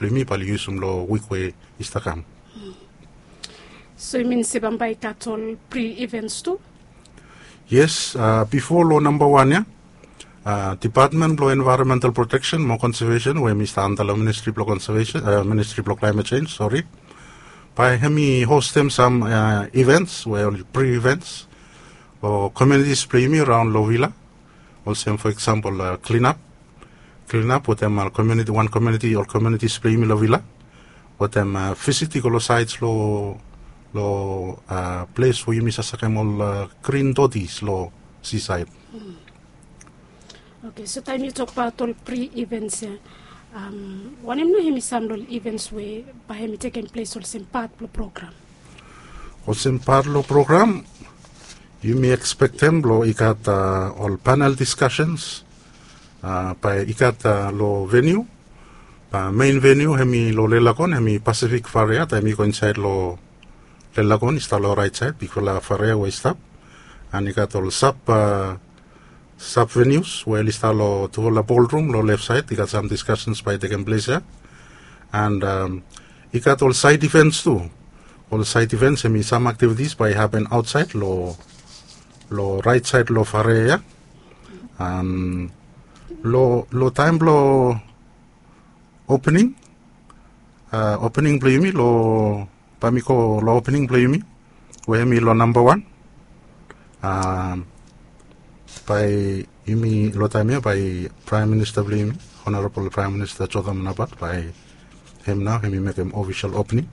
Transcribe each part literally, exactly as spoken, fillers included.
blong yumi bae oli yusum long wik we i stap kam. So i min se bambae i gat ol pre-events tu? Yes, uh, bifo long namba wan ya, uh, Department blong Environmental Protection mo Conservation we mi stap anda long Ministri blong Conservation, uh, Ministri blong Climate Change, sori, bae hem i hostem sam uh, events we ol pre-events o communities blong yumi raon long vila. Olsem fo eksampol uh, clean up, clean up wetem uh, community, wan community, ol communities blong yumi long vila, wetem uh, visit i go long sides long long uh, ples we yumi sasakem ol uh, green dodis long seaside. Okay, so taem yu tokbaot ol pre-events ya, um, wanem nao hem i sam long ol events we bae hem i tekem ples olsem pat blong program? Olsem pat long program, yumi ekspektem blong i gat uh, ol panel discussions, uh, bae i gat uh, long venue. Bae main venue hem i long Lelagon, hem i Pacific Farea, taem i go insaed long Lelagon i stap long raet saed, bigfala farea we i stap. And i gat ol sab uh, sub venues we oli stap long tufala ballroom long left side, i gat sam discussions bae i tekem ples ya. And um, i gat ol side events tu. Ol side events hem i sam activities bae i happen outside long long right side long farea ya. Um, long long taem blong opening, uh, opening blong yumi long bae mi go long opening blong yumi we hem i long namba wan. Um, bae yumi long taem ya bae Praem Minista blong yumi, Honorabol Praem Minista Jotham Napat, bae hem nao hem i mekem ofisol opening.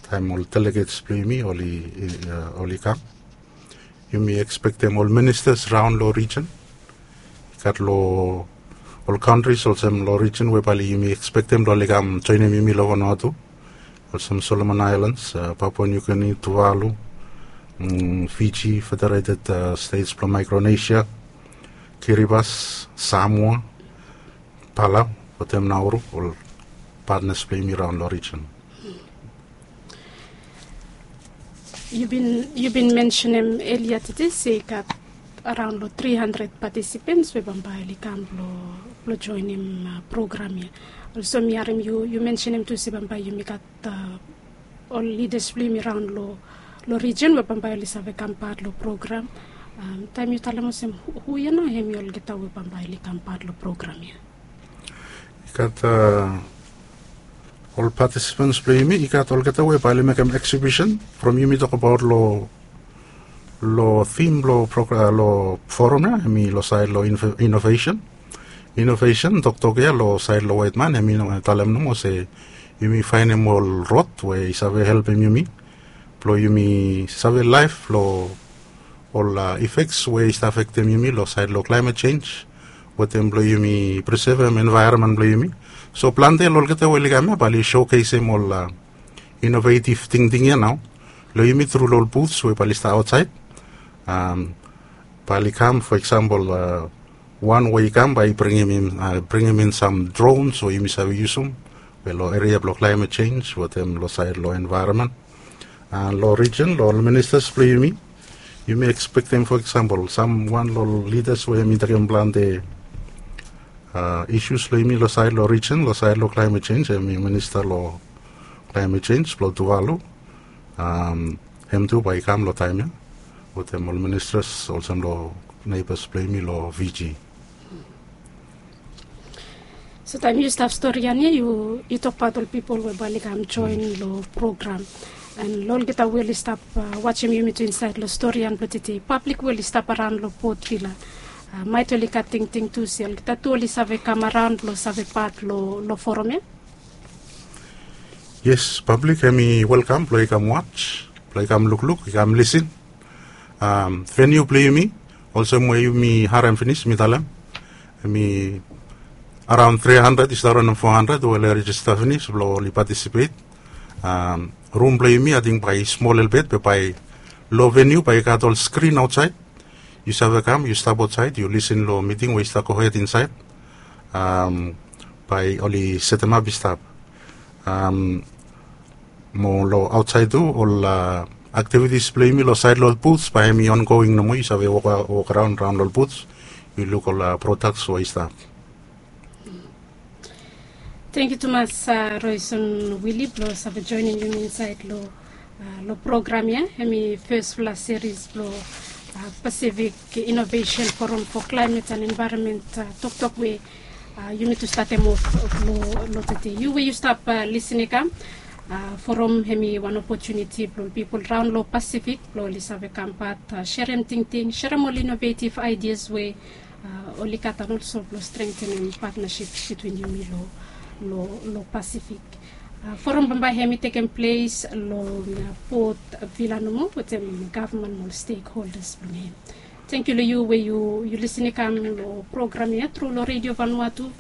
Taem ol delegates blong yumi oli uh, oli kam, yumi ekspektem ol ministas raon long rijen. I gat long ol kantris olsem long rijen we bae yumi ekspektem blong oli kam joenem yumi long Vanuatu, olsem Solomon Islands, uh, Papua New Guinea, Tuvalu, mm, Fiji, Federated uh, States blong Micronesia, Kiribati, Samoa, Palau, wetem Nauru, ol patnas blong yumi raon long rijen. Yu bin yu bin mensenem elia tede se i gat araon long tri handred patisipens we bambae oli kam blong blong joenem uh, program ya. Olsem mi harem yu yu mensenem tu se bambae yumi gat uh, ol lidas blong yumi raon long long rijen we bambae oli save kam pat long program. Um, taem yu talem olsem hu hu ya nao hem i olgeta we bambae oli kam pat long program ya? I gat uh, ol patisipens blong yumi, i gat olgeta we bae oli mekem eksibisen from yumi tokbaot long long tim blong program long forum ya, hem i long saed long inovesen. Inovesen toktok ya long saed long waetman hem i no talem nomo se yumi faenem ol rod we i save helpem yumi blong yumi save laef long ol uh, efeks we i stap afektem yumi long saed long klaemet jenj wetem blong yumi prisevem envaeronmen blong yumi. So plante long olgeta we oli kam ya bae oli sokesem ol uh, inovetiv tingting ya nao long yumi tru long ol buts we bae oli stap aotsaed. Um, bae oli kam fo eksampol uh, wan we i kam bae i bringim in uh, bringim in sam drons we yumi save yusum we long eria blong klaemet jenj wetem long saed long envaeronmen. Uh, long rijen long ol ministas blong yumi, yumi ekspektem fo eksampol sam wan long ol lidas we hem i tekem plante uh, isus long yumi long saed long rijen long saed long klaemet jenj, hem i minista long klaemet jenj blong Tuvalu. Um, hem tu bae i kam long taem ya wetem ol ministas olsem long neibas blong yumi long Fiji. So taem yu stap storian ya yu yu tokbaot ol pipol we bae oli kam joen long program. And long olgeta we oli stap uh, wajem yumi tu insaed long storian blong tede, pablik we oli stap araon long Port Vila, uh, maet oli gat tingting tu se olgeta tu oli save kam araon blong save pat long long forum ya? Yes, pablik hem i welkam blong i kam waj, blong i kam lukluk, i kam lisin. Um, veniu blong yumi olsem we yumi harem finis mi talem, hem i araon tri handred i stap raonem fo handred we oli rejista finis blong oli patisipet. Um, rum blong yumi ating bae i smol lelebet be bae long veniu bae i gat ol skrin aotsaed. Yu save kam yu stap aotsaed yu lisin long miting we i stap gohed insaed. Um, bae oli setemap i stap. Um, mo long aotsaed tu ol uh, aktivitis blong yumi long saed long ol buts bae hem i ongoing nomo, yu save wok wok araon raon long ol buts, yu luk ol uh, prodaks we i stap. Tangkiu tumas, Roison Wili, blong save joenem yumi insaed long long program ya. Hemi fesfala seris blong Pacific Innovation Forum for Climate and Environment toktok we yumi tu statem of long tede. Yu we yu stap lisin i kam, forum hemi wan opotuniti blong pipol raon long Pacific blong oli save kam pat, serem tingting, serem ol inovetiv aidias we oli gat, and olso blong strengtenem patnasip bitwin yumi long Pacific. Forum bambae hemi tekem ples long Port Vila nomo wetem gavman mo ol stekholdas blong hem. Tangkiu long yu we yu lisin i kam long program ya tru long Redio Vanuatu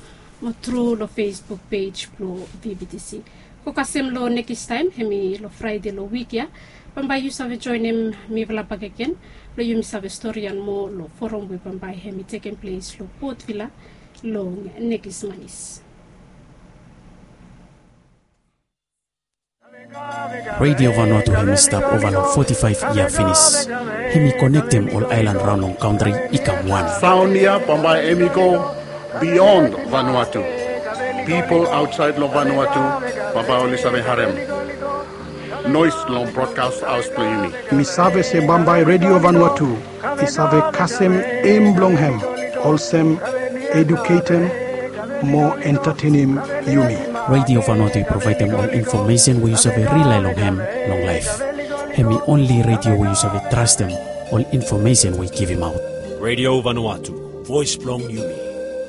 mo tru long Facebook pej blong VBTC. Go kasem long nekis taem, hemi long Fraede long wik ya, bambae yu save joenem mifala bakegen blong yumi save storian moa long forum we bambae hemi tekem ples long Port Vila long nekis manis. Redio Vanuatu hemi stap ova long foti faef yia finis. Hemi konektem ol aelan raon long kantri i kam wan. Saon ya bambae hemi go bion Vanuatu. Pipol aotsaed long Vanuatu bambae oli save harem noes long brodkas haos blong yumi. Mi save se bambae Redio Vanuatu i save kasem em blong hem olsem eduketem mo entatenem yumi. Redio Vanuatu i provaedem ol infomesen we yu save rilae long hem long laef. Hemi onli redio we yu save trastem ol infomesen we i givimaot. Redio Vanuatu, voes blong yumi.